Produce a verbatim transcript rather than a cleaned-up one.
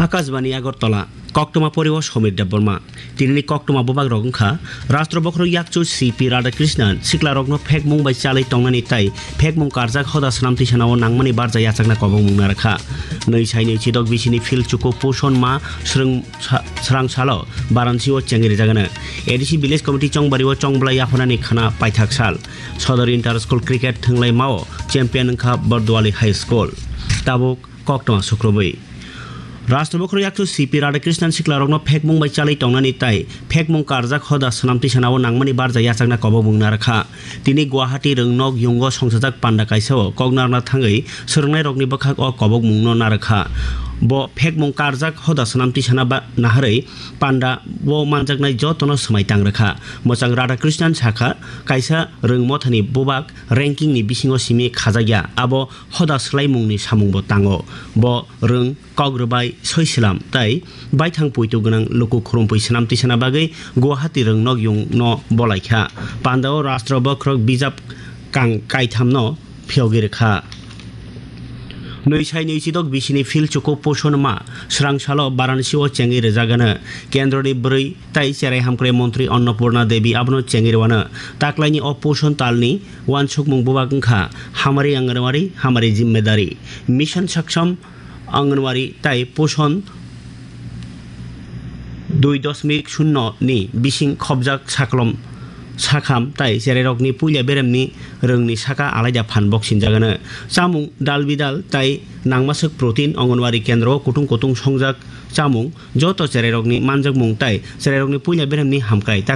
Akashbani Agartala, koktwma poriwo Somir Debbarma. Tinini koktwma bubak rok wngkha, Rashtra Bokhorok Yakchu C P Radhakrishnan siklarokno phekmung bai chalwi tongnani tai phekmung karjak hoda swnam tisanao nangmani barja yachakna kobokmung narwkha. Nwi sai nwi chidok bisini phil chuku Poshon Ma srwng sa-, srang salo Varanasi o chengri jagano. A D C Village Committee chongbario chongblai yaphanani khana paithak sal. Sodor Inter School Cricket thwnglaimao champion wngkha Bardwali High School. Tabuk koktwma sukrubwi. Rashtra Bokhorok Yakchu C P Radhakrishnan siklarokno phekmung bai chalwi tongnani tai phekmung karjak hoda swnam tisanao nangmani barja yachakna kobokmung narwkha. Tini Guwahati rwngnok yungo songchajak panda kaisao kok narwkna thangwi swrwngnairokni bwkhak o kobokmungno narwkha. Bo phekmung karjak hoda swnam tisana ba naharwi panda o manjaknai jotono swmai tang rwkha. Mwchang Radhakrishnan sakha, kaisa rwngmothani bubak rankingni bisingo simi khajakya, abo hoda swlaimungni samungbo tango. Bo rwng, kok rwbai, soi slam tai baithang poito gwnang luku khurumphwi swnam tisana bagwi Guwahati rwngnok yungno bolaikha. Pandao Rashtra Bokhorok bijap kang kaithamno phiyogwi rwkha. Nwi sai nwi chidok bisini phil chuku Poshon Ma srang salo Varanasi o chengwi rwjagano. Kendroni bwrwi tai cherai hamkrai montri Annapurna Devi abono chengwi rwano. Taklaini o Poshon talni wansukmung bubak wngkha Hamari Anganwadi, Hamari Jimmedari, Mission Saksham Anganwadi tai Poshon dui dosmik shunno ni bising khobjak saklom sakham tai cherairokni puila beremni rwngni saka alaida phan boksinjagano. Chamung dal bidal tai nangmaswk protein Anganwadi kendro o kutung kutung songjak chamung joto cherairokni manjakmung tai cherairokni puila beremni hamkrai tak